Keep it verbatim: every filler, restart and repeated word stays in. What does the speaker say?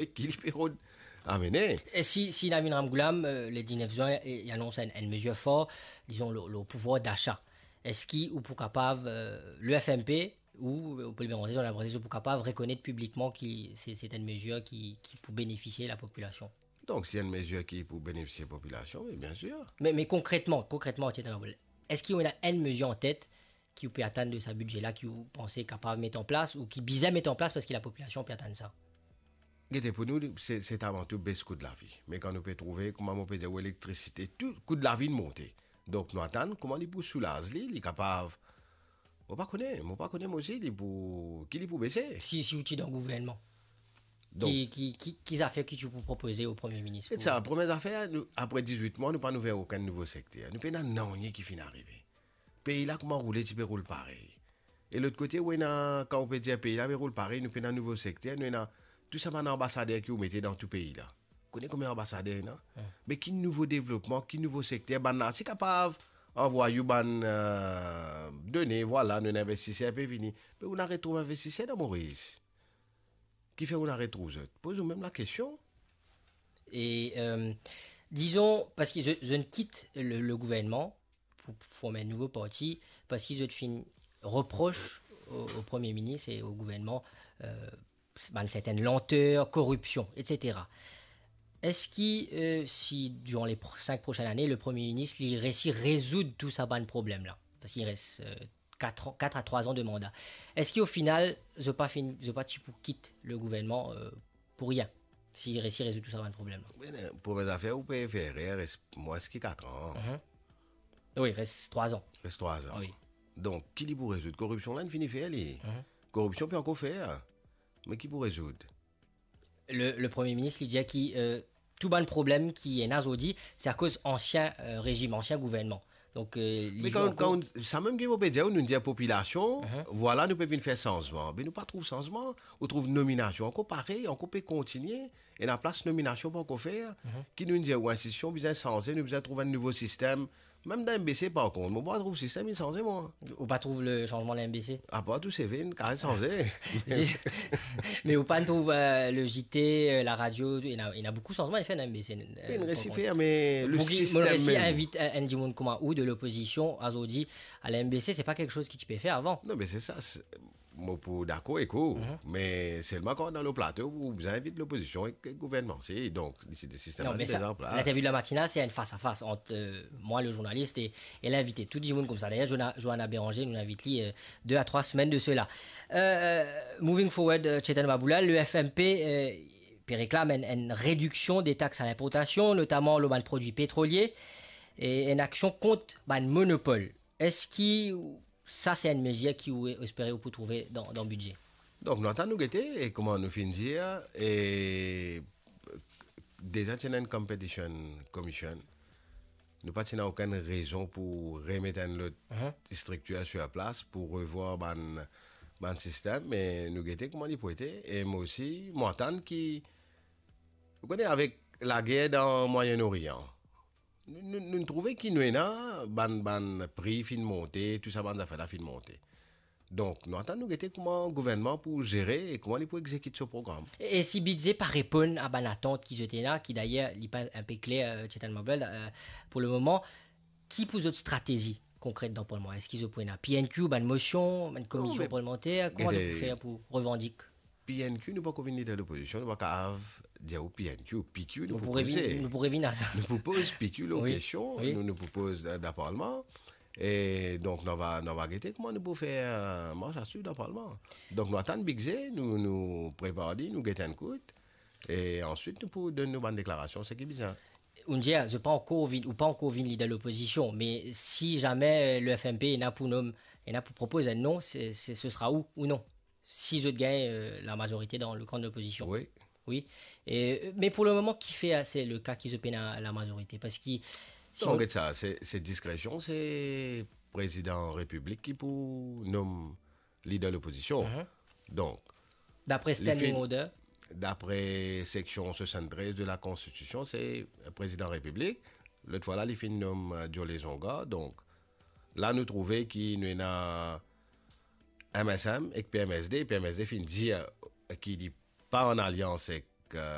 e ki li pe rod amene. E si, si Navin Ramgoolam, euh, le diznef zwin, e, li anons enn, enn mezir for, dizon, lor, lor pouvwar dasa, eski ou pou kapav, euh, le F M P ou, euh, pou le moman, zot pou kapav rekonet piblikman ki se, se enn mezir ki, ki pou benefisie lapopilasion? Donk, si enn mezir ki pou benefisie popilasion, wi, biensir. Me, me konkretman, konkretman, Tietjin Maboul, eski ou ena enn mezir an tet ki ou pe atann de sa bidze la, ki ou panse kapav met an plas, ou ki bizin met an plas, parski lapopilasion pe atann sa? Gete, pou nou, se, se avan tou bes kou lavi. Me kan nou pe trouve, kouma mo pe dir, ou elektrisite, tou, kou lavi inn monte. Donk, nou atann kouma li pou soulaz li, li kapav, mo pa kone, mo pa kone, mo osi, li pou, ki li pou bese. Si, si ou ti dan gouvernman, donk, ki, ki, ki, ki zafer ki ou pou propoze o Premie Minis? E pou sa, premie zafer, nou, apre dizwit mwa, nou pa'nn ouver okenn nouvo sekter. Nou pena nanye ki finn arive. Pei la kouma roule, ti pe roul parey. E lot kote, ou ena, kan ou pe dir pei la pe roul parey, nou pena nouvo sekter, nou ena tou sa bann anbasader ki ou mete dan tou pei la. Kone konbien anbasader ena? Hmm. Me ki nouvo devlopman, ki nouvo sekter, bann la ti kapav anvway ou bann, euh, done, vwala, nou ena investiser pe vini. Me ou ena retrouv investiser dan Moris? Kifer ou ena retrouv zot? Poz ou mem lakestion. E, euh, dizon, parski zot, zot inn kit le, le gouvernman pou form enn nouvo parti, parski zot finn repros o, o Premie Minis e o gouvernman, euh, bann sertenn lanter, koripsion, et cetera. Eski, euh, si, diran le pro-, sink prosenn lane, le Premie Minis, li resi rezoud tou sa bann problem la? Parski li res, euh, kat an, kat a trwa an de manda. Eski o final, zot pa finn, zot pa ti pou kit le gouvernman, euh, pou rien, si li resi rezoud tou sa bann problem la? Be, premie zafer, ou pe fer erer, res mwins ki kat an. Mhm. Wi, res trwa an. Res trwa an. Wi. Donk, ki li pou rezoud? Koripsion la, inn fini fer li. Mhm. Koripsion pe ankor fer. Me ki pou rezoud? Le, le Premie Minis, li dir ki, euh, tou bann problem ki ena zordi, se akoz ansien, euh, rezim, ansien gouvernman. Donk, euh, li... Me kan, ankor kan, sa mem ki mo pe dir, nou dir popilasion, mhm, vwala, nou pe vinn fer sanzman. Me nou pa trouv sanzman, ou trouv nominasion ankor parey, ankor pe kontinie, ena plas nominasion pa ankor fer, mhm, ki nou dir, ou, enstitision bizin sanze, nou bizin trouv enn nouvo sistem. Mem dan M B C, par kont, mo pa trouv sistem inn sanze, mwa. Ou pa trouv le sanzman dan M B C? Apar tou seve, kapav sanze. Me ou pa trouv, euh, le J T, euh, laradio, ena, ena boukou sanzman inn fer dan M B C, euh, inn resi fer, me le sistem mem. Mo resi invit enn, enn dimoun kouma ou de lopozision, azordi, a la M B C, se pa kiksoz ki ti pe fer avan. Non, me se sa, se, mo pou dakor ek ou, mhm, me selman kan dan le plato, ou bizin invit lopozision ek gouvernman. Se, donk, si, si, sistem la, me se deza an plas. Non, sa, l'interview de la matinale, se enn fas a fas ant, euh, mwa, le zournalis, e, e linvite. Tou dimoun koumsa. Dayer, Joana-, Joana Béranger, nou invit li, euh, de a trwa semenn de sela. Euh, moving forward, euh, Tietjin Maboul, le F M P, euh, pe reklam enn, enn rediksion de tax a linportasion, notaman lor bann prodwi petrolie, e enn aksion kont bann monopol. Eski sa se enn mezir ki ou espere ou pou trouve dan, dan bidze? Donk, nou atann nou gete, e kouma nou finn dir, e deza ti ena enn competition commission. Nou pa ti ena okenn rezon pou remet enn lot, mhm, striktir sir plas, pou revwar bann, bann sistem, me nou gete kouma li pou ete, e mo osi, mo atann ki, ou kone, avek lager dan Mwayen Orian, nou, nou, nou trouve ki nou ena bann, bann pri finn monte, tou sa bann zafer la finn monte. Donk, nou atann nou gete kouma gouvernman pou zere e kouma li pou egzekit so program. E, e si bidze pa reponn a bann atant ki zot ena, ki dayer, li pa inpe kler, euh, Tietjin Maboul, euh, pou le moman, ki pou zot stratezi konkret dan parlman? Eski zot pou ena P N Q, bann mosion, bann komision parlemanter? Non, me kouma zot pou fer pou revandik? P N Q, nou pa ankor vinn lider lopozision, nou pa kapav dir ou P N Q, P Q, nou pou propoze. Nou pou revinn, nou pou revinn a sa. Nou pou poz P Q lor kestion, wi, nou, nou pou poz dan, dan parlman. E donk, nou va, nou va gete kouma nou pou fer, euh, mars a swiv dan parlman. Donk, nou atann bidze, nou, nou prepar li, nou get enn kout, e answit, nou pou donn nou bann deklarasion, seki bizin. Ou dir, zot pa ankor vinn, ou pa ankor vinn lider lopozision, me si zame, euh, le F M P ena pou nom, ena pou propoz enn non, se, se, se sera ou, ou non? Si zot gagn, euh, lamazorite dan le kan de lopozision. Wi. Wi. E, euh, me pou le moman, kifer, euh, se le ka ki zot pena lamazorite? Parski si... Non, get sa, se, se diskresion, se prezidan repiblik ki pou nom lider lopozision. Mhm. Donk, dapre li standing order, dapre seksion swasanntrez de la Konstitision, se prezidan repiblik. Lot fwa la, li finn nom, euh, Joe Lezonga. Donk, la nou trouve ki nou ena M S M ek P M S D. P M S D finn dir ki li pa an alians ek, euh,